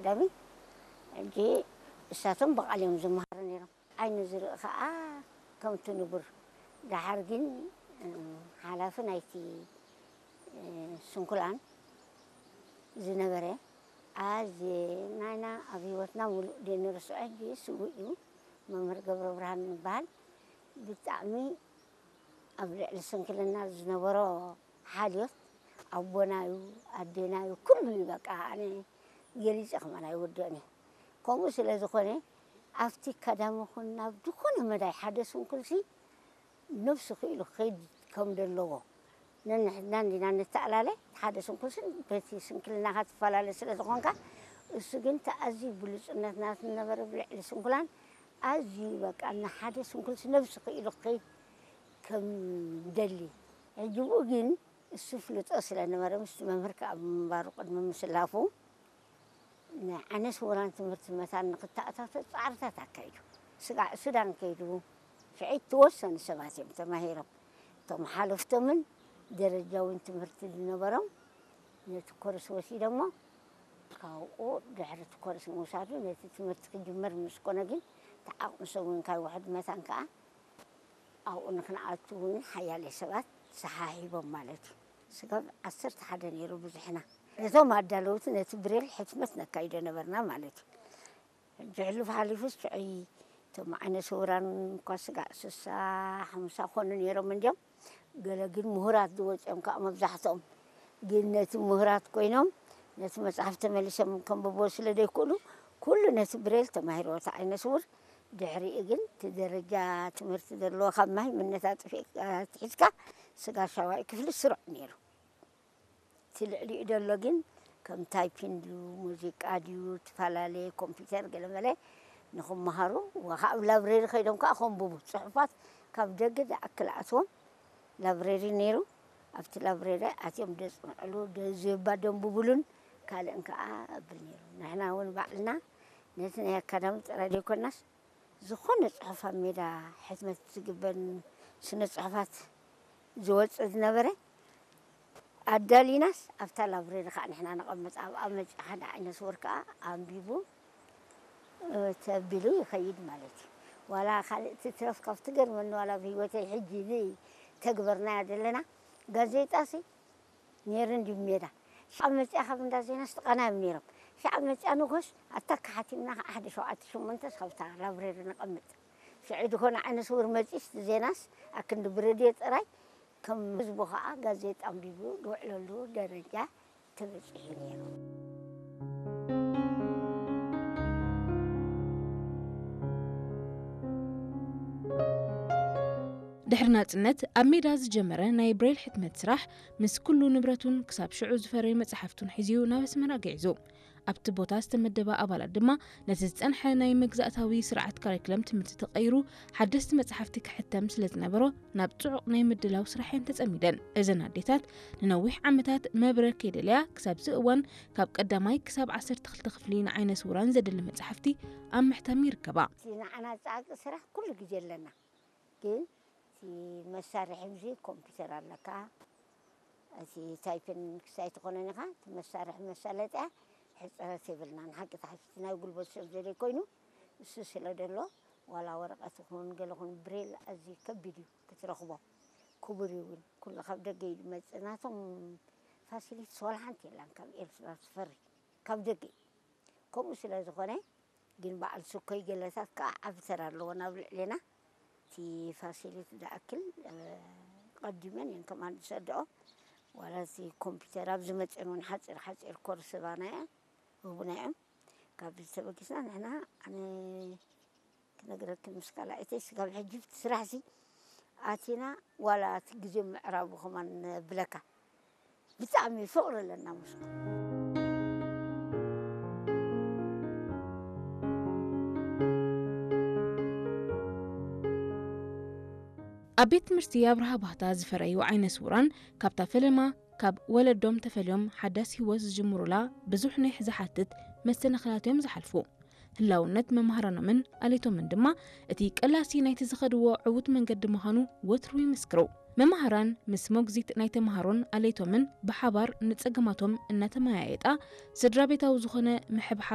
ቀዳሚ ሕጂ እሳቶም ብቓል እዮም ዝመሃሩ ነይሮም። ዓይኒ ዝርኢ ኸዓ ከምቲ ንቡር። ደሓር ግን፣ እ፣ ሓላፊ ናይቲ፣ እ፣ ስንኩላን ዝነበረ፣ ኣዝየ ናይና ኣብ ህይወትና ምሉእ ደንርስዖ፣ ሕጂ ስዉእ እዩ፣ መምህር ገብረብርሃን ይበሃል። ብጣዕሚ ኣብ ልዕሊ ስንክልና ዝነበሮ ሓልዮት፣ ኣቦናዩ፣ ኣዴናዩ፣ ኩሉ እዩ። በቃ ኣነ ገሊጸ ከማን ኣይወድኦን እየ። ከምኡ ስለ ዝኾነ፣ ኣብቲ ኣካዳሚ ኹን ናብ ዝኾነ መዳይ ሓደ ስንኩልሲ ነብሱ ክኢሉ ክኸይድ ከም ዘለዎ፣ ነንሕድና እንዲና ንተኣላለ። ሓደ ስንኩልሲ በቲ ስንክልናኻ ትፈላለ ስለ ዝኾንካ፣ እሱ ግን እቲ ኣዝዩ ብሉጽነት ናቱ ዝነበረ ብልዕሊ ስንኩላን ኣዝዩ በቃ ንሓደ ስንኩልሲ ነብሱ ክኢሉ ክኸይድ ከም ደሊ። ሕጂ ብኡ ግን እሱ ፍልጦ ስለ ነበረ፣ ምስቲ መምህር ከኣ ምንባሩ ቅድሚ ምስላፉ፣ ንዓይነ ስውራን ትምህርቲ መታን ንክተኣታቶ ጻዕርታት ኣካይዱ። ስጋዕ ሱዳን ከይዱ፣ ሽዑ እተወሰኑ ሰባት እዮም ተማሂሮም። እቶም ሓለፍቶምን ደረጃውን ትምህርቲ ዝነበሮም ነቲ ኮርስ ወሲዶሞ። ካብኡ ድሕሪ እቲ ኮርስ ምውሳዱ ነቲ ትምህርቲ ክጅመር ምስ ኮነ ግን፣ እቲ ዓቕሚ ሰብ እውን ካብ ውሑድ መታን ከኣ ኣብኡ ንክንኣቱ እውን ሓያለ ሰባት ሰሓሒቦም ማለት እዩ። ስጋብ ዓሰርተ ሓደ ነይሩ ብዙሕና። ነቶም ኣዳለውቲ ነቲ ብሬል ሕትመት ነካይዶ ነበርና ማለት እዩ። ሕጂ ሕሉፍ ሓሊፉስ ሽዑይ እቶም ዓይነ ስውራን እኳ ስጋዕ ስሳ ሓምሳ ኮኑ ነይሮም እንድዮም። ገለ ግን ምሁራት ዝወፁ እዮም ከዓ መብዛሕትኦም። ግን ነቲ ምሁራት ኮይኖም ነቲ መፅሓፍ ተመሊሶም ከንብቦ ስለ ዘይክእሉ፣ ኩሉ ነቲ ብሬል ተማሂርዎ እቲ ዓይነ ስውር። ድሕሪኡ ግን እቲ ደረጃ ትምህርቲ ዘለዎ ካብ ማሂምነት ኣጥፊእካ ኣትሒዝካ ስጋ ሻዋኢ ክፍሊ ስሩዕ ነይሩ። እቲ ልዕሊኡ ዘሎ ግን ከም ታይፒን ድዩ፣ ሙዚቃ ድዩ፣ ትፈላለየ ኮምፒውተር ገለመለ ንኽመሃሩ፣ ወ-፣ ኣብ ላብረሪ ከይዶም ከዓ ከንብቡ፣ ጽሑፋት ካብ ደገ ዝኣክል ኣትዎም ላብረሪ ነይሩ። ኣብቲ ላብረሪ ኣትዮም ደጽንዕሉ፣ ደ-፣ ዝባ ደንብቡሉን ካልእን ከዓ ኣብል ነይሩ። ንሕና እውን ባዕልና ነቲ ናይ ኣካዳሚ ጥራይ ዘይኮናስ፣ ዝኾነ ጽሑፍ ኣብ ሜዳ ሕትመት ዝግበር ስነ ጽሑፋት ዝወጽእ ዝነበረ ኣዳሊናስ ኣብታ ላብረሪ ከዓ ንሕና ነቐምጥ። ኣብኣ መጺኡ ሓደ ዓይነ ስውር ከዓ ኣንቢቡ፣ እ፣ ተቢሉ ይኸይድ ማለት እዩ። ዋላ ካልእ ትትረፍ ካብ ትገርመኒ፣ ዋላ ኣብ ህይወተይ ሕጂ ዘይተግበርናያ ዘለና ጋዜጣሲ ነይሩ እንዲ ሜዳ። ሽዓ መጺኣ ካብ እንዳ ዜናስ ትቐናዮም ነይሮም። ሽዓ መጺኣ ንጎስ ኣታ ከሓቲምና ከዓ ሓደ ሸውዓተ ሸሞንተስ ካብታ ላብረሪ ነቐምጥ። ሽዑ ዝኾነ ዓይነ ስውር መጺስ ዜናስ ኣክንዲ ብረድዮ ጥራይ ከም ህዝቡ ከዓ ጋዜጣ ኣንቢቡ ዝውዕለሉ ደረጃ ተበጺሑ ነይሩ። ድሕሪ ናጽነት ኣብ ሜዳ ዝጀመረ ናይ ብሬል ሕትመት ስራሕ ምስ ኩሉ ንብረቱን ክሳብ ሽዑ ዝፈረዩ መጻሕፍቱን ሒዙ ናብ ኣስመራ ግዒዙ። ኣብቲ ቦታ ዝተመደበ ኣባላት ድማ ነቲ ዝጸንሐ ናይ መግዛእታዊ ስርዓት ካሪክለም ትምህርቲ ተቐይሩ ሓደስቲ መጻሕፍቲ ክሕተም ስለ ዝነበሮ ናብ ጽዑቕ ናይ ምድላው ስራሕ እየን ተጸሚደን። እዘን ኣዴታት ንነዊሕ ዓመታት መብረ ከይደለያ ክሳብ እዚ እዋን ካብ ቀዳማይ ክሳብ ዓሰርተ ክልተ ክፍሊ ንዓይነ ስውራን ዘድሊ መጻሕፍቲ ኣብ ምሕታም ይርከባ። እቲ ንዓና ጻዕቂ ስራሕ ኩሉ ግዜ ኣለና። ግን እቲ መሳርሒ፣ እዚ ኮምፒውተር ኣለካ፣ እቲ ታይፕን ክሳይ ትኾነን ኢኻ፣ እቲ መሳርሒ መሳለጥያ ሕፅረት የብልናን። ሓቂ ተሓፊት ናይ ጉልበት ሰብ ዘደይ ኮይኑ፣ እሱ ስለ ደሎ፣ ዋላ ወረቐት ይኹን ገለ ይኹን ብሬል ኣዝዩ ከቢድ እዩ ክትረኽቦ። ክቡር እዩ እውን፣ ኩሉ ካብ ደገ እዩ ዝመጽእ። ናቶም ፋሲሊቲስ ዋላ ሓንቲ የላን ካብ ኤርትራ ዝፈሪ፣ ካብ ደገ እዩ። ከምኡ ስለ ዝኾነ ግን በዓል ስኮይ ገለታት ከዓ ዓቢ ተራ ኣለዎ ናብ ልዕሌና። እቲ ፋሲሊቲ ዝኣክል፣ እ፣ ቀዲመን እየን ከማን ዝሰድኦ። ዋላ እቲ ኮምፒውተር ኣብ ዝመፅእን እውን ሓፂር ሓፂር ኮርስ ባና እያ፣ ህቡና እዮም። ካብ ዝተበጊስና ንሕና፣ ኣነ ክነግረክን ምስ ካልኣይተይ ስጋብ ሕጂ እቲ ስራሕሲ ኣቲና፣ ዋላ እቲ ግዜ ምዕራቡ ከማን ብለካ። ብጣዕሚ ፍቕሪ ኣለና ምስኡ። ኣብ ቤት ትምህርቲ ኣብርሃ ባህታ ዝፈረዩ ዓይነ ስውራን፣ ካብታ ፈለማ፣ ካብ ወለዶም ተፈልዮም ሓዳስ ህይወት ዝጅምሩላ ብዙሕ ናይ ዝሓትት መሰናኽላት እዮም ዝሓልፉ። ህላውነት መምሃራኖምን ኣሌቶምን ድማ እቲ ቀላሲ ናይቲ ዝኸድዎ ዕዉት መንገዲ ምዃኑ ወትሩ ይምስክሩ። መማህራን ምስ ሞግዚት ናይ ተምሃሮን ኣሌቶምን ብሓባር ንጸገማቶም እናተመያየጣ፣ ስድራ ቤታዊ ዝኾነ ምሕብሓብ